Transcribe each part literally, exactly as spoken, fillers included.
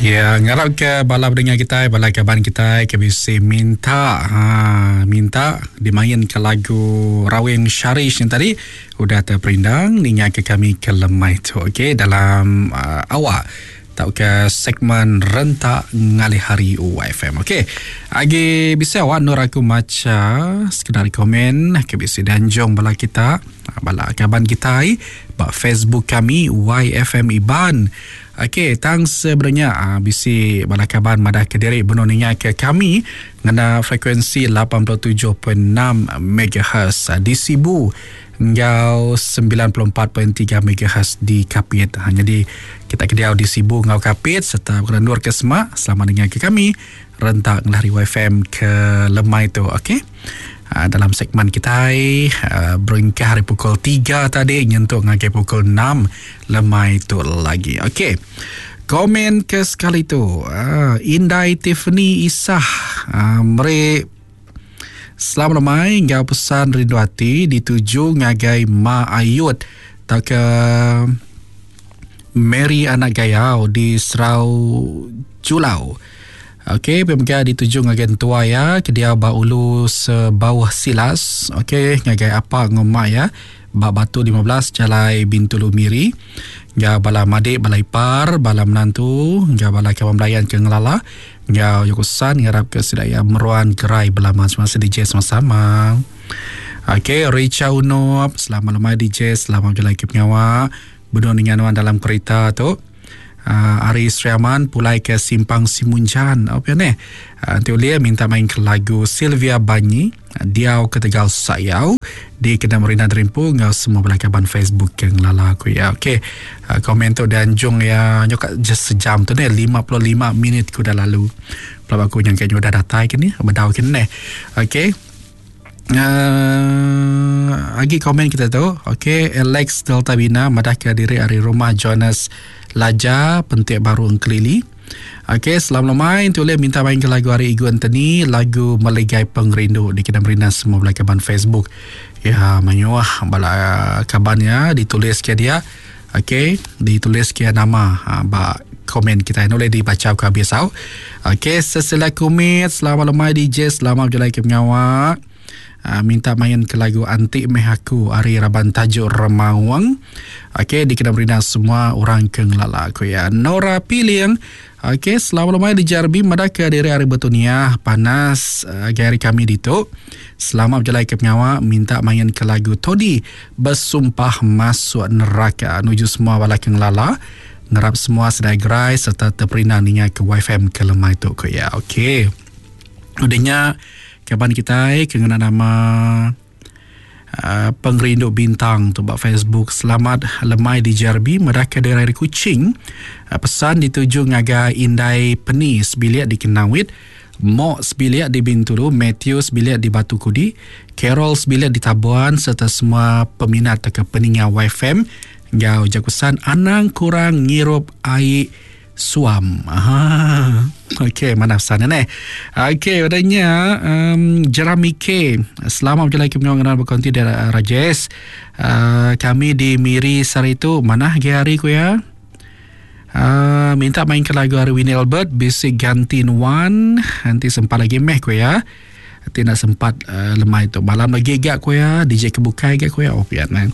Ya, ngarap ke bala pendengar kita, bala kaban kita ke bisi minta ha, minta dimain ke lagu Rawing Syarish yang tadi udah terperindang ninga ke kami ke lemai tu. Okey, dalam uh, awak tau ke segmen rentak ngalih hari Y F M. Okey. Agi bisa awak nur aku maca sekedar komen ke bisi danjong bala kita, bala kaban kita ba Facebook kami Y F M Iban. Okey, tang sebenarnya bisi bala kaban madah ke diri benar ninga ke kami ngena frekuensi lapan puluh tujuh perpuluhan enam megahertz di Sibu ngau sembilan puluh empat perpuluhan tiga megahertz di Kapit. Ha, jadi kita kediau di Sibu ngau Kapit serta Nur ke Semak selamat dengar ke kami rentak ngelari Y F M ke lemai tu. Okey. Ha, dalam segmen kita uh, berengkah hari pukul tiga tadi nyentuk ngagai pukul enam lemai tu lagi. Okey. Komen ke sekali tu. Uh, Indai Tiffany Isah uh, mere selamat lemai ngau pesan rindu hati dituju ngagai Ma Ayut tau ke Mary Anak Gayau di Serau Julau. Okey, pemega dituju ngagai tua ya ke dia ba ulu sebawah silas. Okey, ngagai apa ngomak ya ba Batu lima belas Jalai Bintulu Miri. Ngau bala madik, bala ipar, bala menantu, ngau bala kawan belayan ke ngelala. Ngau yokusan ngarap ke sedaya meruan gerai belama semasa D J sama-sama. Okey, Richa Unop, selamat lemai D J, selamat berjalan ke pengawa. Berdua dengan nuan dalam kereta tu. Uh, Ari Sriaman pulai ke Simpang Simunjan. Apa ni? Uh, nanti ulia minta main ke lagu Sylvia Banyi, Diau ke Tegal Sayau di Kedai Marina Terimpu ngau semua belakaban Facebook yang lala aku ya. Okey. Uh, komen tu dan jung ya nyokak just sejam tu ni lima puluh lima minit ku dah lalu. Pelabak aku yang kayaknya dah datai ke ni, bedau ke ni. Okey. Uh, lagi komen kita tu. Okey, Alex Delta Bina madah ke diri hari rumah Jonas Laja Pentik Baru Engkelili. Okey, selamat lemai tulis minta main ke lagu hari Igu Anthony, lagu Meligai Pengerindu di Kedai Marina semua belai kaban Facebook. Ya, manyuah bala kabannya ditulis ke dia. Okey, ditulis ke nama ha, ba komen kita ini boleh dibaca ke biasa. Okey, sesila kumit, selamat lemai D J, selamat berjalan ke pengawak. Uh, minta main ke lagu Antik Meh Aku Ari Raban Tajuk Remawang. Okey, di Kedai Marina semua orang ke ngelala aku ya. Nora Piling. Okey, selamat lemai di Jarbi madah ke diri hari bertunia panas uh, hari kami ditu. Selamat berjalan ke pengawak, minta main ke lagu Todi Bersumpah Masuk Neraka. Nuju semua bala ke ngelala. Ngerap semua sedai gerai serta terperina ninga ke Y F M ke lemai tu ku ya. Okey. Udahnya kaban kita kena nama uh, Pengerindu Bintang tu buat Facebook. Selamat lemai di Jarbi madah ke daerah Kuching. Uh, pesan dituju ngagai Indai Peni sebiliak di Kenawit, Mok sebiliak di Bintulu, Matthew sebiliak di Batu Kudi, Carol sebiliak di Tabuan serta semua peminat atau peninga Y F M. Ngau jakusan anang kurang ngirup air suam. Ah, okey, mana pesan ni? Okey, adanya um, Jeremy K. Selamat berjalan ke pengawalan berkonti dari Rajesh. Uh, kami di Miri sehari itu mana hari ku ya? Uh, minta main ke lagu hari Winnie Albert, Basic Gantin One. Nanti sempat lagi meh ku ya. Nanti nak sempat uh, lemai tu. Malam lagi gak ku ya, D J kebukai gak ku ya. Oh pian man.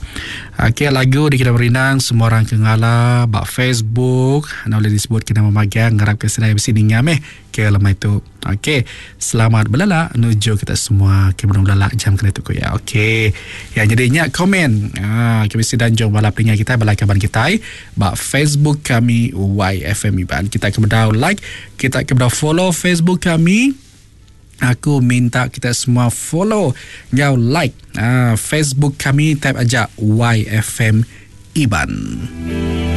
Okey, lagu di Kedai Merindang semua orang kengala bak Facebook, nak boleh disebut kena memagang ngarap ke sedai besi ninga meh ke lemai tu. Okey, selamat berlala menuju kita semua ke belum berlala jam kena tu ku ya. Okey. Yang jadinya komen. Ah, ke besi dan jom bala peninga kita bala kaban kita bak Facebook kami Y F M Iban. Kita ke bedau like, kita ke bedau follow Facebook kami. Aku minta kita semua follow ngau like uh, Facebook kami, type aja Y F M Iban.